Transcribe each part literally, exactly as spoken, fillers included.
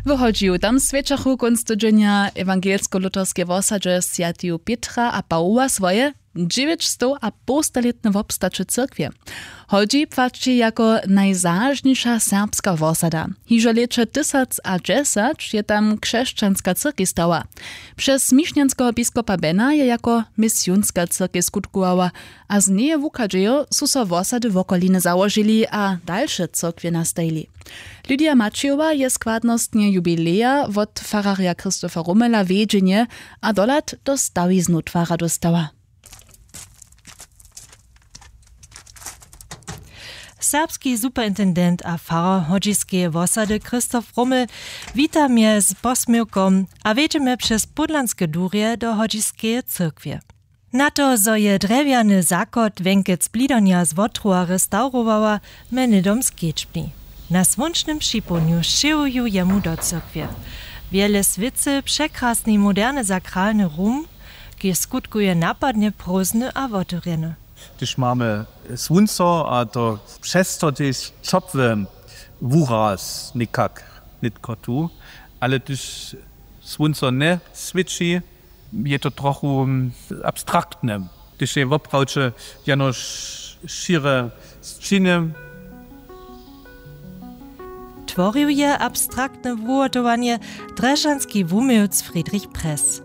W Hodźiju tam swjećachu kónc tydźenja ewangelsko-luterskej wosadźe swjateju Pětra a Pawoła swoje dźewjećstowapołstalětne wobstaće cyrkwje. Hodźi płaći jako najzažniša serbska wosada. Hižo lěće tysac a dźesać je tam křesćanska cyrkej stała. Přez mišnjanskeho biskopa Bena je jako misionska cyrkej skutkowała, a z njeje wuchadźejo su so wosady wokoliny załožili a dalše cyrkwje nastajili. Lydia Maćejowa je składnostnje jubileja wot fararja Christopha Rummela wjedźenje a dohlad do stawiznu twara dóstała. Serbski superintendent a farar hodźiskeje wosady Christoph Rummel wita mje z posměwkom a wjedźemy přez pódlanske durje do hodźiskeje cyrkwje. Na to, zo je drjewjany zachod wjenkec blidanja z wotrowa restaurowała, mjenydom skedźbni. Na słónčnym připołdnju šěłuju jemu do cyrkwje. Wjele swěcy překrasny moderny sakralny rum, kiž skutkuje napadnje prózdny a wotewrjeny. Hdyž mamy słónco a to přez to tež ćopły wuraz někak nětko tu, ale hdyž słónco njeswěći, je to trochu abstraktne, hdyž je woprawdźe jenož šěre sćiny. Tworił je abstraktne wuhotowanje drježdźanski wuměłc Friedrich Press.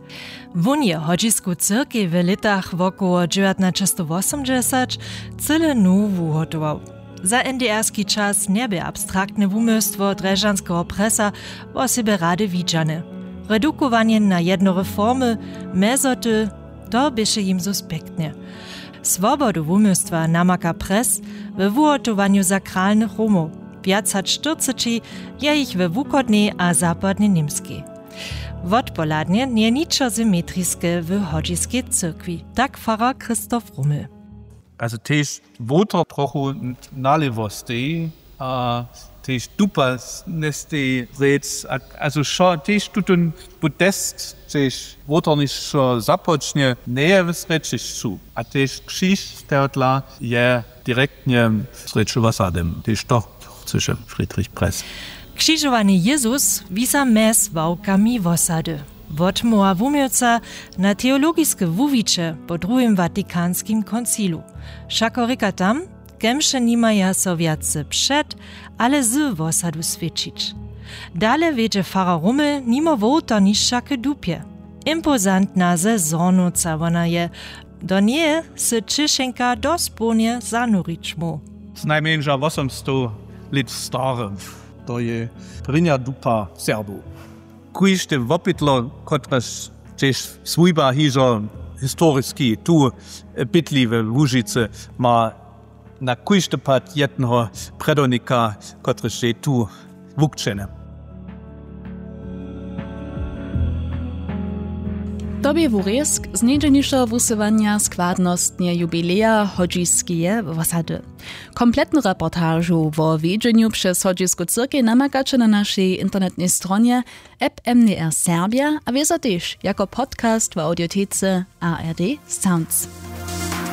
Wón je hodźisku cyrkej w lětach wokoło dźewjatnaćestowosomdźesać cyle nowu wuhotował. Za N D R-ski čas njebě abstraktne wumysłstwo drježdźanskeho Pressa wosebje rady widźane. Redukowanje na jednore formy, mjezoty, to běše jim suspektne. Swobodu wumysłstwa namaka Press we wuhotowanju sakralnych rumow. Wjac hač štyrceći je jich we wuchodnej a zapadnej Němskej. Wotpohladnje njeje ničo symetriske w hodźiskej cyrkwi, tak farar Christoph Rummel. Also tež wotor trochu nalěwo steji a tež dupa njesteji rěc, a also wšo tež tutón podest tež wotor něšto započnje, njeje w srjedźišću, a tež křiž tehodla je direktnje w srjedźu wosady. Tež to chcyše Friedrich Press. Křižowany Jezus wisa mjez ławkami wosady. Wotmołwa wuměłca na teologiske wuwiće po druhim watikanskim koncilu. Wšako rěka tam, kemše nimaja so wjace před, ale z wosadu swědčić. Dale wjedźe farar Rummel nimo wołtarnišća k dupje. Impozantna sezonowca wona je, do njeje sy ćěšenka dospołnje zanurić móhł. Znajmjenša wosomstow lět stary, to je prěnja dupa Serbow. Kóžde wopytlo, kotrež tež swójba hižo historiski tu bydli we Łužicy, ma na kóždy pad jedneho predawnika, kotryž je tu wukćeny. To bě wurězk z njedźelnišeho wusyłanja składnostnje jubileja hodźiskeje wosady. Kompletnu reportažu wo wjedźenju přez hodźisku cyrkej namakaće na našej internetnej stronje app M D R Serbja a wězo tež jako podcast w audiotece A R D Sounds.